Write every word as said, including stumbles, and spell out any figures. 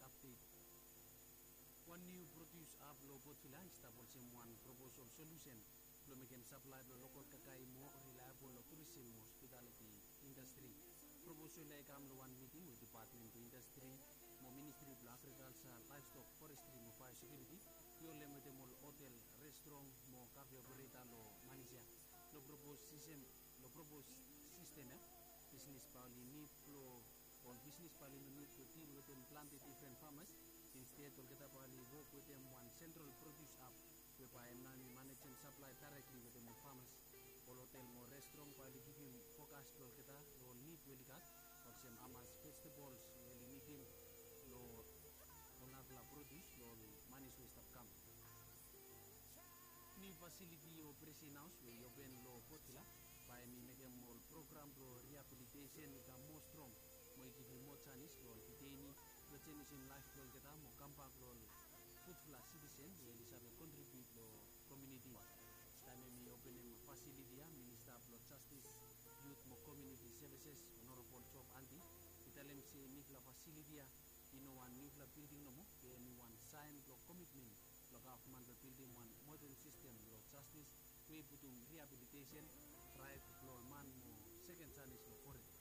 Apdet. Wan niu produs ap long Port Vila i stap olsem wan proposol solusen blong mekem saplae blong lokal kakae moa rilaebol long turism mo hospitaliti indastri. Proposol ya i kam long wan miting we Depatmen blong Indastri mo Ministri blong Agrikalsa, Laevstok, Forestri mo Baeosekiuriti i holem wetem ol hotel, restrong mo kafe opereta long Manis ya. Long propos sistem, long propos sistem ya, bisnis bae oli nid blong ol bisnis bae oli no nid blong dil wetem plante difren famas. Insted olgeta bae oli wok wetem wan sentral produs ap we bae hem nao hem i manejem saplae daerekli wetem ol famas. Ol hotel mo restrong bae oli givim fokas blong olgeta long ol nid we oli gat, olsem hamas vejetabols we oli nidim long ol narafala produs long ol manis we i stap kam. Niu fasiliti o Presen Haos we i open long Port Vila bae hem i mekem ol program blong riabilitesen i kam moa strong mo i givim moa janis long ol diteini blong jenisim laef blong olgeta mo kambak long ol gudfala sitisen we oli save kontribiut long komuniti. Taem hem i openem fasiliti ya, Minista blong Jastis, Yut mo Komuniti Sevises, Onorabol Job Anti, i talem se nifala fasiliti ya i no wan niufala bilding nomo, be hem i wan saen blong komitmen blong gavman blong bildim wan moden sistem blong jastis we i putum riabilitesen, raet blong ol man mo seken janis long koret.